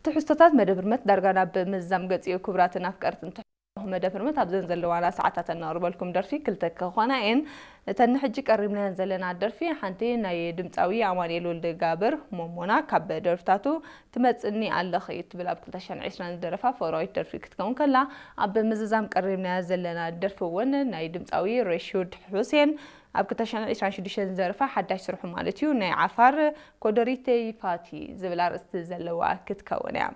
ትሕዝቶታት መደብ ህርመት ዳርጋ ናብ ምዝዛም ገጽዮ። ክቡራትን ኣፍቀርትን ትሕዝቶ መደብ ህርመት ኣብዘን ዘለዋና ሰዓታት እነቕርበልኩም ደርፊ ክልተ ክኾና እየን። እተን ንሕጂ ቀሪብናየን ዘለና ደርፊ ሓንቲ ናይ ድምፃዊ ኣማኑኤል ወልደ ጋብር ሞሞና ካብ ደርፍታቱ ትመጽኒ ኣለኺ እትብል ኣብ ክልተ ሽሕን ዕስራን ዝደረፋ ፈራዊት ደርፊ ክትከውን ከላ፣ ኣብ ምዝዛም ቀሪብናያ ዘለና ደርፊ እውን ናይ ድምፃዊ ረሹድ ሑሴን ኣብ ክልተ ሽሕን ዕስራን ሽዱሽተን ዝደረፋ ሓዳሽ ስርሑ ማለት እዩ ናይ ዓፋር ኮደሪተይ ፋቲ ዝብል ኣርእስቲ ዘለዋ ክትከውን እያ።